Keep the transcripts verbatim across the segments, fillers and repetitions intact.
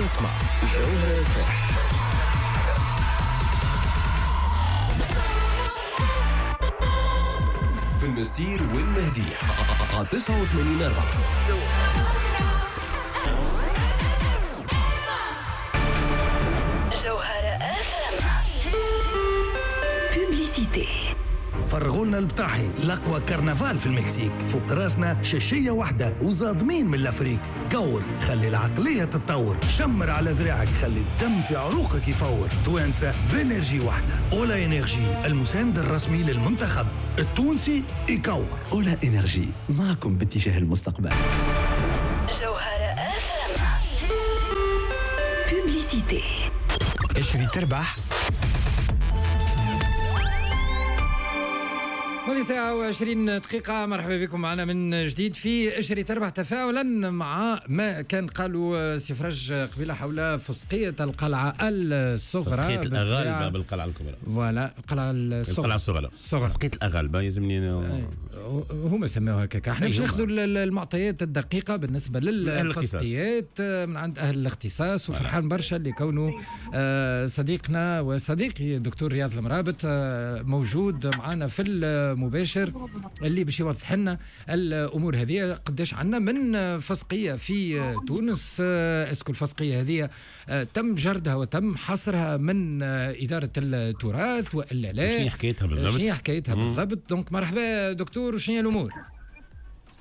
تسمع جوهرة إف. في المستير والمهدي على تسعة وثمانين أربعة. جوهرة إف publicité. فرغولنا البطاحي الأقوى كرنفال في المكسيك، فوق راسنا شاشية واحدة وزادمين من l'Afrique. كور خلي العقلية تتطور، شمر على ذراعك خلي الدم في عروقك يفور. توانسة ب énergie واحدة، أولا إنرجي المساند الرسمي للمنتخب التونسي يكور. أولا إنرجي معكم باتجاه المستقبل. جوهرة publicité. اشري تربح. ماضي ساعة وعشرين دقيقة، مرحبا بكم معنا من جديد في اشري تربح، تفاعلا مع ما كان قالوا سي فرج قبيلة حول فسقية القلعة الصغرى. فسقية الأغالبة بالقلعة الكبرى. voilà القلعة الصغرى. القلعة الصغرى. فسقية الأغالبة يلزمني هما سموها هكاك. احنا باش ناخذوا المعطيات الدقيقة بالنسبة للفسقيات من عند أهل الاختصاص، وفرحان برشا اللي كونه صديقنا وصديقي الدكتور رياض المرابط موجود معنا في المباشر اللي باش يوضح لنا الامور هذه. قداش عندنا من فسقيه في تونس؟ est-ce que الفسقيه هذه تم جردها وتم حصرها من ادارة التراث والا لا؟ شنو حكايتها بالضبط؟ شنو حكايتها بالضبط؟ donc مرحبا دكتور، وشنو هي الامور؟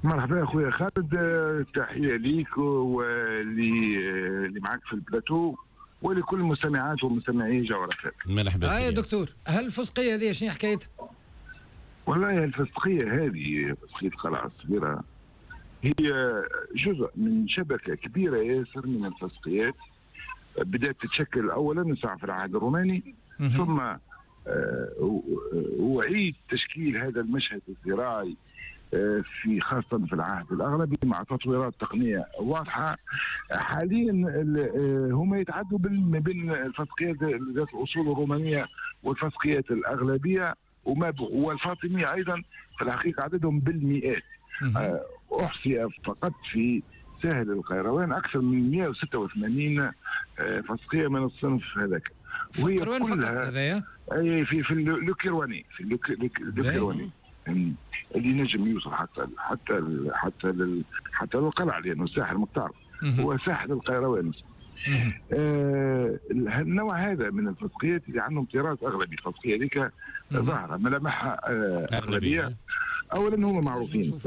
مرحبا اخويا خالد، تحية ليك واللي اللي معاك في البلاتو ولكل المستمعات ومستمعي جوهرة. مرحبا آه يا دكتور، هل الفسقيه هذه شنو حكايتها؟ والله الفسقية هذه فسقية القلعة الصغيرة هي جزء من شبكة كبيرة ياسر من الفسقيات بدأت تتشكل أولا في العهد الروماني، ثم أعيد تشكيل هذا المشهد الزراعي في خاصة في العهد الأغلبي مع تطويرات تقنية واضحة. حاليا هما يتعدوا ما بين الفسقيات ذات الأصول الرومانية والفسقيات الأغلبية وما والفاطمية أيضا. في الحقيقة عددهم بالمئات، أحصي فقط في ساحل القيروان أكثر من مئة وستة وثمانين فسقية من الصنف هذاك، وهي كلها أي في في le Kairouanais، في le Kairouanais اللي نجم يوصل حتى حتى حتى حتى للقلعة، لأنه الساحل مقطع هو ساحل القيروان. آه النوع هذا من الفسقيات اللي عندهم طراز اغلبي، الفسقيه هذيك ظاهره ملامحها آه اغلبية. اولا هم معروفين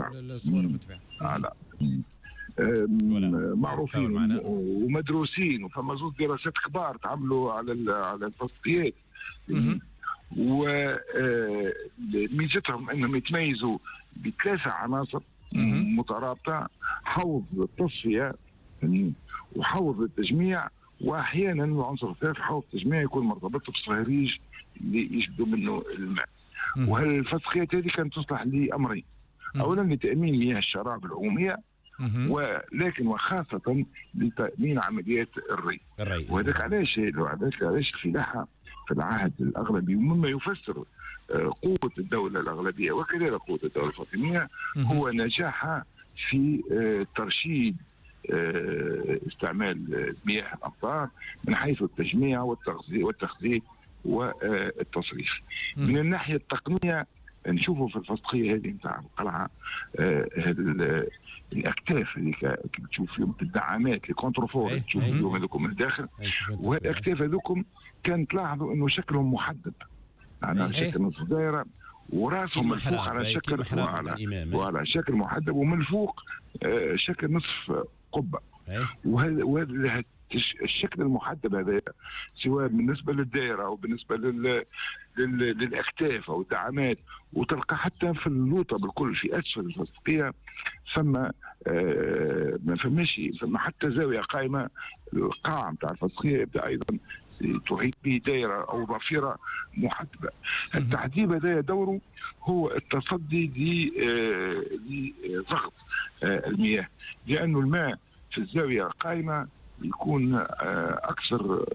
آه لا آه معروفين ومدروسين، وفما زوج دراسات كبار تعملوا على على الفسقيات، وميزتهم انهم يتميزوا بثلاثة عناصر مترابطة: حوض التصفية وحوض التجميع، واحيانا العنصر الثالث حوض التجميع يكون مرتبط بصهريج اللي يجبدوا منه الماء. وهالفسقيات هذه كانت تصلح لامرين: اولا لتامين مياه الشراب العمومية، ولكن وخاصة لتامين عمليات الري. وهذاك علاش هذاك علاش الفلاحة في العهد الاغلبي، ومما يفسر قوة الدولة الاغلبية وكذلك قوة الدولة الفاطمية، هو نجاحها في ترشيد استعمال مياه الأمطار من حيث التجميع والتخزين والتصريف. من الناحية التقنية نشوفوا في الفسقية هذه نتاع القلعة الأكتاف اللي تشوف فيهم الدعامات les contreforts تشوف فيهم هذوكم من الداخل، وهالأكتاف هذوكم كان تلاحظوا أنه شكلهم محدب، يعني شكل نصف دائرة وراسهم من فوق على شكل وعلى, وعلى شكل محدب، ومن الفوق شكل نصف قبة. وهذا وهذا الشكل المحدب هذا سواء بالنسبة للدائرة أو بالنسبة لل... لل... للأكتاف أو الدعامات، وتلقى حتى في اللوطة بالكل في أسفل الفسقية ثم آه ما فماش ثم حتى زاوية قائمة. القاع نتاع الفسقية يبدأ أيضا تحيط به دائرة أو ضفيرة محدبة. التحديب هذا دوره هو التصدي لضغط المياه، لأنه الماء في الزاوية القائمة يكون اكثر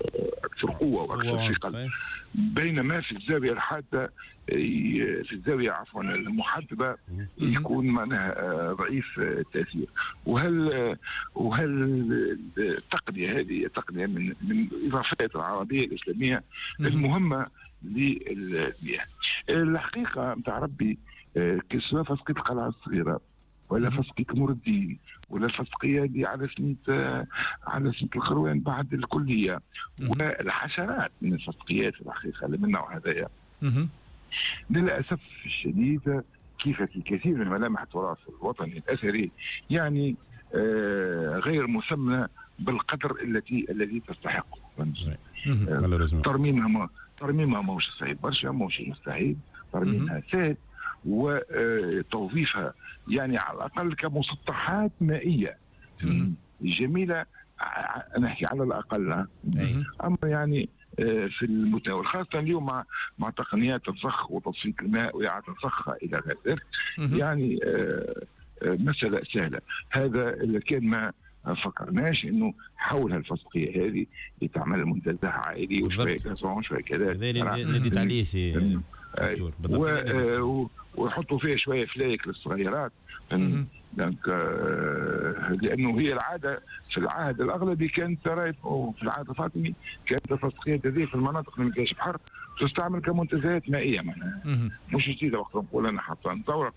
اكثر قوة واكثر ثقل، بينما في الزاوية الحادة في الزاوية عفوا المحدبه يكون معناها ضعيف التاثير. وهل وهل التقنية هذه تقنية من من الاضافات العربية الاسلامية المهمة للمياه. الحقيقة نتاع ربي سواء فسقيه القلعة الصغيرة ولا فسقيه المردين ولا الفسقيه اللي على سنة على سنة القروان بعد الكلية والحشرات من الفسقيات الحقيقة اللي من النوع هذايا، للاسف الشديد كيف في كثير من ملامح التراث الوطني الاثري يعني آه غير مسمى بالقدر التي الذي تستحقه. ترميمها ترميمها ماهوش صعيب برشا، ماهوش مستحيل، ترميمها سهل وتوظيفها يعني على الاقل كمسطحات مائية جميلة، نحكي على الاقل. اما يعني في المتناول، خاصة اليوم مع مع تقنيات الضخ وتصفية الماء واعاده ضخها الى غير ذلك، يعني مسالة سهلة. هذا اللي كان ما فكرناش انه حول هالفسقيه هذه لتعمل منتزه عائلي وشوية gazon شوية كذا. هذا اللي ناديت عليه سي دكتور. ويحطوا فيها شوية فلايك للصغيرات، donc لانه هي العادة في العهد الاغلبي كانت في العهد الفاطمي كانت الفسقيه هذه في المناطق اللي ما فيهاش بحر تستعمل كمنتزهات مائية، معناها مش جديدة وقت نقول انا حتى نطورق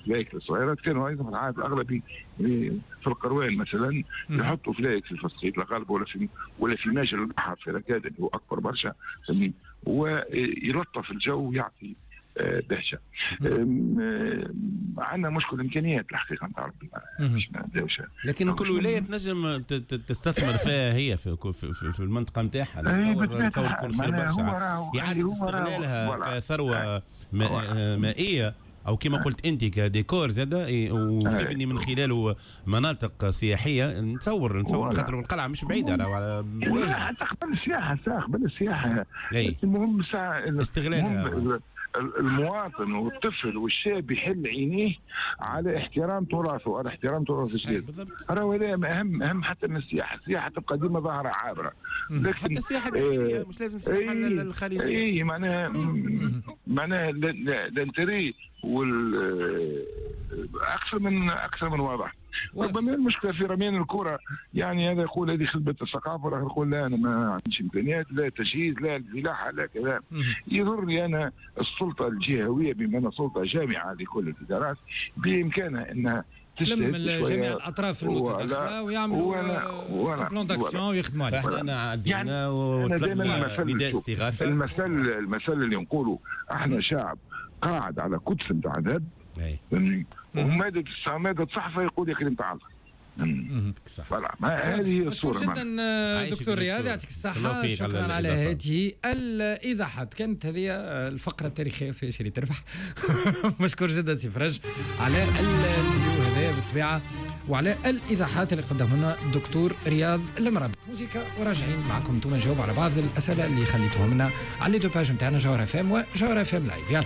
فلايك للصغيرات. كانوا ايضا في العهد الاغلبي في القروان مثلا يحطوا فلايك في الفسقيه الغالبة ولا في ولا في ماجل البحر في ركاد اللي هو اكبر برشا، ويلطف الجو ويعطي بهجة. عندنا مشكل امكانيات الحقيقة نتاع ربي، مش ما نبداوش، لكن كل ولاية تنجم تستثمر فيها هي في في, في المنطقة نتاعها. نتصور نتصور يكون خير برشا اعاده استغلالها كثروه مائية او كما قلت انت كديكور زاد، وتبني من خلاله مناطق سياحية. نتصور نتصور خاطر القلعة مش بعيدة على ولا حتى قبل السياحة، ساعة قبل السياحة. المهم ساعة استغلالها المواطن والطفل والشاب يحل عينيه على احترام تراثه وعلى احترام تراث البلاد. راهو هذا اهم اهم حتى من السياحة، السياحة تبقى ديما ظاهره عابرة، لكن حتى السياحة الداخلية مش لازم السياحة الخارجية. اي معناها معناها l'intérêt وال اكثر من اكثر من واضح. ربما المشكلة في رميان الكره، يعني هذا يقول هذه خدمة الثقافة والاخر يقول لا انا ما عنديش امكانيات، لا تجهيز لا الفلاحة لا كذا. يضرني انا السلطة الجهوية بما انها سلطة جامعه لكل الادارات بامكانها انها تلم جميع الاطراف المتداخله ويعملوا plan d'action ويخدموا عليه. احنا عدينا وطلبنا نداء استغاثة. المثل المثل اللي نقوله احنا شعب قاعد على كتف نتاع ذهب ومادة مادة صحفة يقول يا كريم تعال. صح. هذه هي الصورة. جدا دكتور رياض، يعطيك الصحة، شكرا على هذه الإيضاحات. كانت هذه الفقرة التاريخية في شريط تربح. مشكور جدا سي فرج على الفيديو هذا بالطبيعة وعلى الإيضاحات اللي قدمها لنا الدكتور رياض المرابط. موسيقى وراجعين معكم انتم نجاوب على بعض الأسئلة اللي خليتوهم لنا على les deux pages نتاعنا جوهرة اف ام وجوهرة اف ام live. يلا.